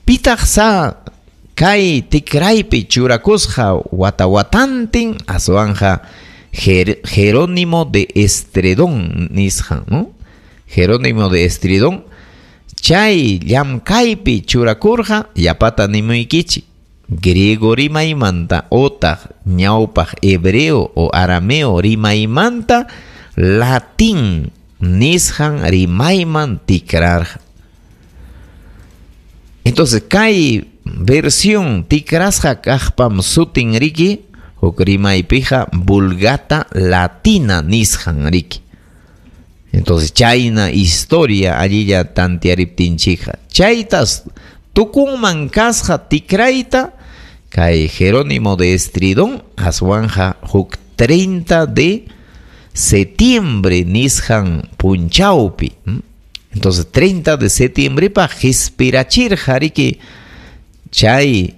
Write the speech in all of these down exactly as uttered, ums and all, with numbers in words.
Pitaq sa kay tikraypi churakusqa wata watantin aswanja Jer Jerónimo de Estridón nisqan, ¿no? Jerónimo de Estridón chay llamkaypi churakurqa yapata nimuykichik griego rimaymanta otaq ñawpaq hebreo o arameo rimaymanta latín nisqan rimayman tikrarqa. Entonces kay versión tikrasqa kaqpam sutin riki huk rimaypiqa Vulgata Latina nisqan riki. Entonces chayna historia allilla tantiariptinchikqa chaytas tukunman kasqa tikrayta kay Jerónimo de Estridón aswanja huk treinta de septiembre nisqan punchawpi. Entonces treinta de septiembre pa qispirachirqa riki chay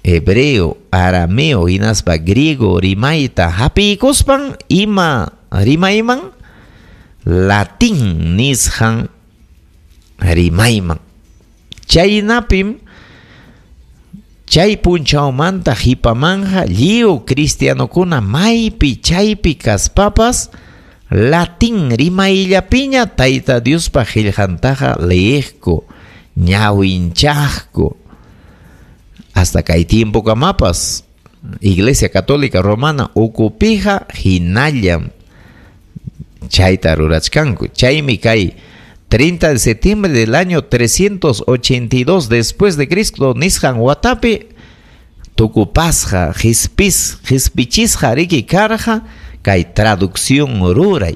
hebreo, arameo hinaspa griego rimayta hapiykuspan ima rimayman latín nisqan rimayman. Chaynapim chay punchawmanta hipamanja lliw cristianokuna maypi chaypi kaspapas latín rimayllapiña Tayta Diospa qillqantaqa leeqku, ñawinchaqku. Hasta kay tiempo kamapas Iglesia Católica Romana ukupija hinallam chayta rurachkanku. Chaymi kay treinta de septiembre del año trescientos ochenta y dos después de Cristo nisqan watapi tukupasqa qispis qispichisqa riki karqa kay traducción ruray.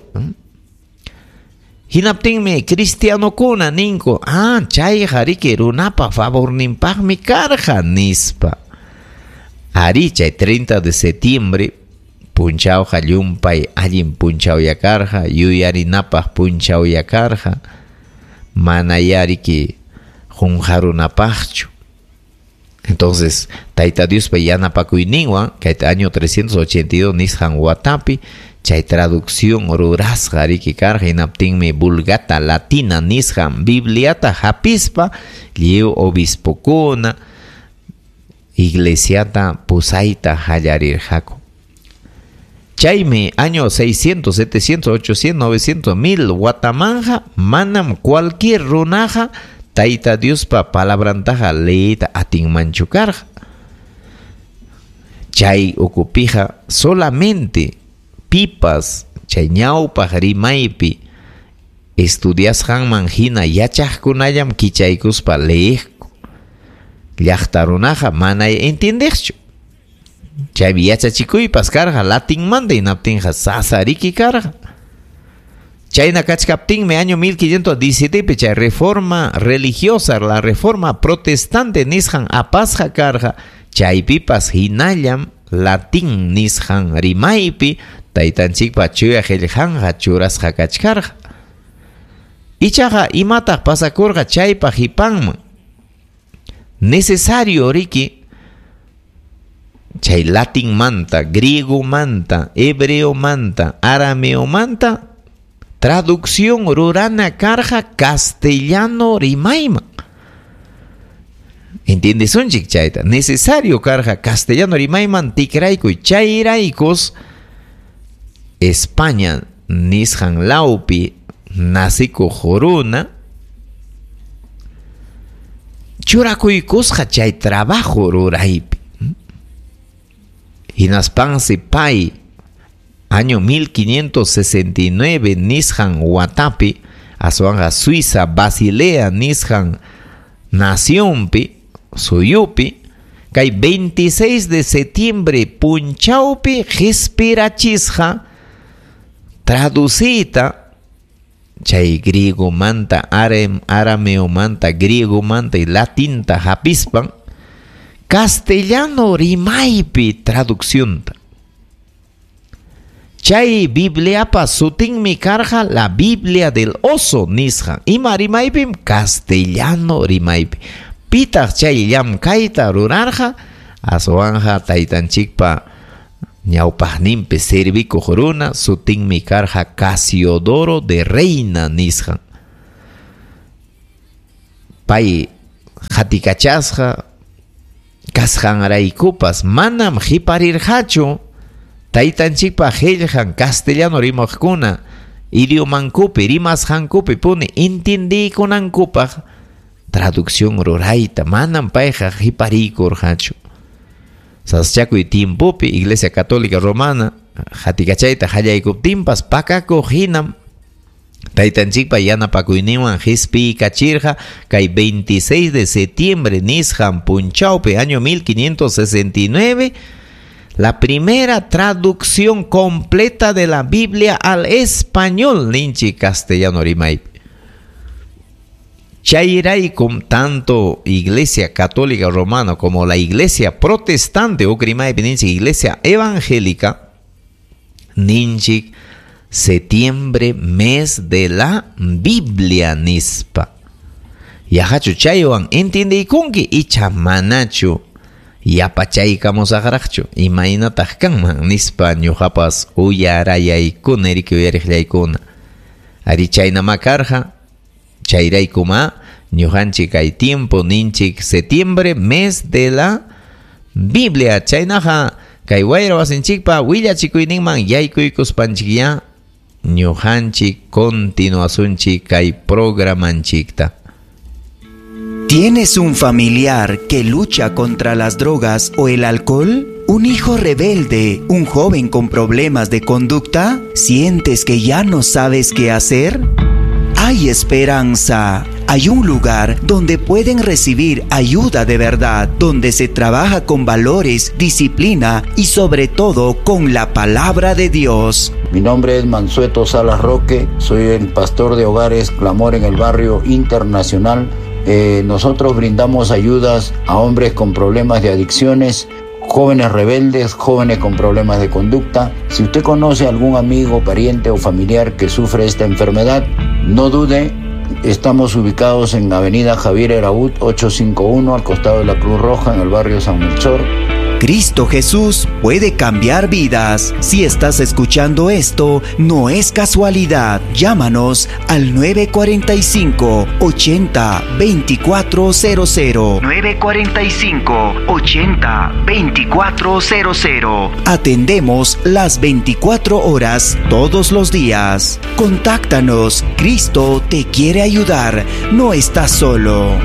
Hinaptinmi cristianokuna ninku, ah, chayqa riki runapa favorninpaqmi karqa nispa. Ari chay treinta de septiembre punchawqa llumpay allin punchawya karqa, yuyarinapaq punchawya karqa, mana yariki qunqarunapaqchu. Entonces, Tayta Diospa yanapakuyninwan kay año trescientos ochenta y dos nisqan watapi chay traducción rurasqa riki karqa, hinaptinmi Vulgata Latina nisqan Bibliata hapispa lliw obispokuna iglesiata pusayta hallarirqaku. Chaymi año seiscientos, setecientos, ochocientos, novecientos, mil watamanja manam cualquier runaja Tayta Diospa palabrantaja leeyta atinmanchu karqa. Chay ukupija solamente pipas chay ñawpaq rimaypi estudiasqanman hina yachaqkunallam kichaykuspa leeqku. Llaqta runaqa mana entiendeqchu. Chaymi yachachikuypas karqa latinmanta hinaptinqa sasariki karqa. Chayna kachkaptinmi año mil quinientos diecisiete pi chay reforma religiosa, la reforma protestante nisqan apasqa karqa, chaypipas hinallam latín nisqan rimaypi taytanchikpa chuya qillqanqa churasqa kachkarqa. Ichaqa imataq pasakurqa chaypa hipanman? Necesario riki chay latinmanta, griegomanta, hebreomanta, arameomanta traducción rurana karqa castellano rimayman. ¿Entiendes unchik chayta? Necesario karqa castellano rimayman tikraykuy chayraykus España nisqan lawpi nasikuq runa churakuykusqa chay trabajo ruraypi. Hinaspansi pay año mil quinientos sesenta y nueve nisqan watapi aswanja Suiza Basilea nisqan nacionpi suyupi kay veintiséis de septiembre punchawpi qispirachisqa traducita chay griegomanta arameomanta griegomanta y latinta hapispan castellano rimaypi traduccionta. Chay Bibliapa sutinmi karqa la Biblia del oso nisqan. Ima rimaypim castellano rimaypi. Pitaq chay llamkayta rurarqa aswanja taytanchikpa ñawpaqninpi servikuq runa sutinmi karqa Casiodoro de Reina nisqan. Pay Qatikachasqa kasqanraykupas manam qiparirqachu taytanchikpa qillqan castellano rimaqkuna idiomankupi rimasqankupi puni intindiykunankupaq traducción rurayta manam payqa qipariykurqachu. Saschakuy tiempopi Iglesia Católica Romana qatikachayta qallaykuptinpas pakakuq hinam taytanchikpa yanapakuyninwan qispiykachirqa kay veintiséis de septiembre nisqan punchawpi año mil quinientos sesenta y nueve la primera traducción completa de la Biblia al español ninchik castellano rimaypi. Chayraykum tanto Iglesia Católica Romana como la Iglesia Protestante o rimaypi ninchik Iglesia Evangélica ninchik septiembre mes de la Biblia nispa. Yahachu chaywan entendiykunki icha manachu yapachaykamusaqraqchu imaynataq kanman nispa ñuqapas uyarayaykuna riki uyariqllaykuna. Ari chaynama karqa chayraykuma ñuqanchik kay tiempo ninchik septiembre mes de la Biblia. Chaynaqa kay wayra wasinchikpa willachikuyninman yaykuykuspanchikya ñuqanchik continuasunchik kay programanchikta. ¿Tienes un familiar que lucha contra las drogas o el alcohol? ¿Un hijo rebelde? ¿Un joven con problemas de conducta? ¿Sientes que ya no sabes qué hacer? Hay esperanza. Hay un lugar donde pueden recibir ayuda de verdad, donde se trabaja con valores, disciplina y sobre todo con la palabra de Dios. Mi nombre es Mansueto Salas Roque, soy el pastor de Hogares Clamor en el Barrio Internacional. Eh, nosotros brindamos ayudas a hombres con problemas de adicciones, jóvenes rebeldes, jóvenes con problemas de conducta. Si usted conoce a algún amigo, pariente o familiar que sufre esta enfermedad, no dude. Estamos ubicados en Avenida Javier Eraúd, ocho cinco uno, al costado de la Cruz Roja, en el barrio San Melchor. Cristo Jesús puede cambiar vidas. Si estás escuchando esto, no es casualidad. Llámanos al nueve cuarenta y cinco, ochenta, veinticuatro cero cero. nueve cuarenta y cinco, ochenta, veinticuatro cero cero. Atendemos las veinticuatro horas todos los días. Contáctanos. Cristo te quiere ayudar. No estás solo.